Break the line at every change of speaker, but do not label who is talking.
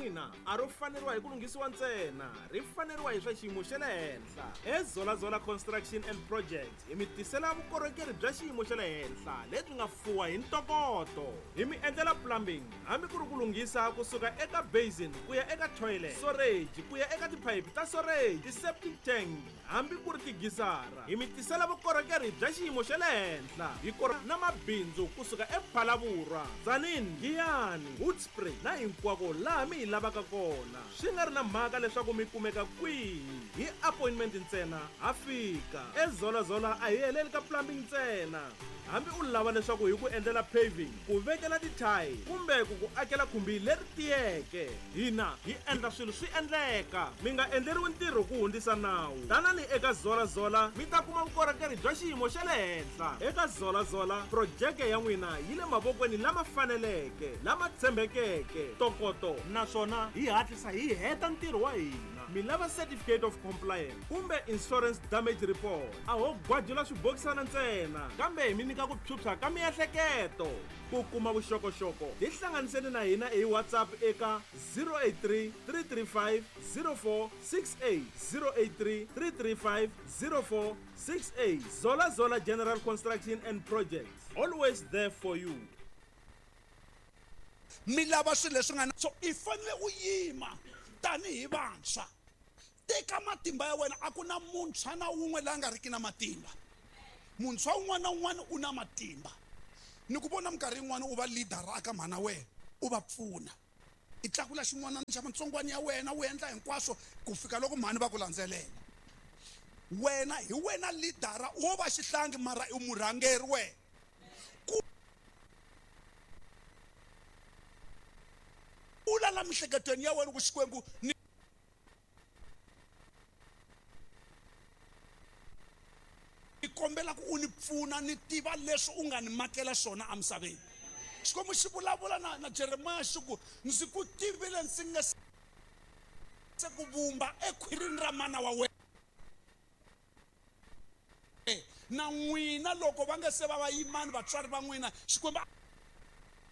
n'wina a ro faneriwa hi ku lunghisiwa ntsena, ri faneriwa hi swa xiyimo xa le henhla. EZolazola Construction and Projects hi mi tisela vukorhokeri bya xiyimo xa le henhla lebyi nga fuwa hi ntokoto. Hi mi endlela plumbing hambi ku ri ku lunghisa kusuka eka basin ku ya eka toilet, storage ku ya eka tiphayiphi ta storage, ti-septic tank hambi ku ri tigisara. Hi mi tisela vukorhokeri bya xiyimo xa le henhla hi kora na mabindzu kusuka ePhalavurwa, Tzaneen, Giyani, Hoedspruit na hinkwako laha mi hi lavaka kona. Swi nga ri na mhaka leswaku mi kumeka kwihi, hi appointment ntsena ha fika. EZolazola a hi heleli ka plumbing ntsena. Hambi u lava leswaku hi ku endlela paving, ku vekela tithayi kumbe ku ku akela khumbi leri tiyeke, hina hi endla swilo swi endleka. Mi nga endleriwi ntirho ku hundzisa nawu. Tanani eka Zola Zola mi ta kuma vukorhokeri bya xiyimo xa le henhla. Eka Zola Zola, projeke ya n'wina yi le mavokweni lama faneleke, lama tshembekeke, ntokoto naswona hi hatlisa hi heta ntirho wa hina. Mi lava Certificate of Compliance kumbe Insurance Damage Report? A ho gwajula swibokisana ntsena, kambe hi mi nyika ku phyuphya ka miehleketo. Ku kuma vuxokoxoko, tihlanganiseni na hina hi WhatsApp eka 083 335 0468, 083 335 0468. Zola Zola General Construction and Projects, always there for you.
Mi lava swilo leswi nga na. So i fanele u yima tanihi vantshwa. Teka matimba ya wena. A ku na muntshwa na wun'we la nga riki na matimba. Muntshwa un'wana na un'wana u na matimba. Ni ku vona minkarhi yin'wana u va leader aka mhana wena, u va pfuna. I tlakula xin'wana xa matsongwana ya wena, u endla hinkwaswo ku fika loko mhani va ku landzelela. Wena hi wena leader, wo va xihlangi mara i murhangeri wena. Ku kula la miehleketweni ya wena ku Xikwembu ni ni kombela ku u ni pfuna ni tiva leswi u nga ni makela swona emisaveni. Xikwembu xi vulavula na, na Jeremiya xi ku, ndzi ku tivile ndzi nga se ku vumba ekhwirini ra mana wa wena. Na n'wina loko va nga se va vayimani vatswari va n'wina, Xikwembu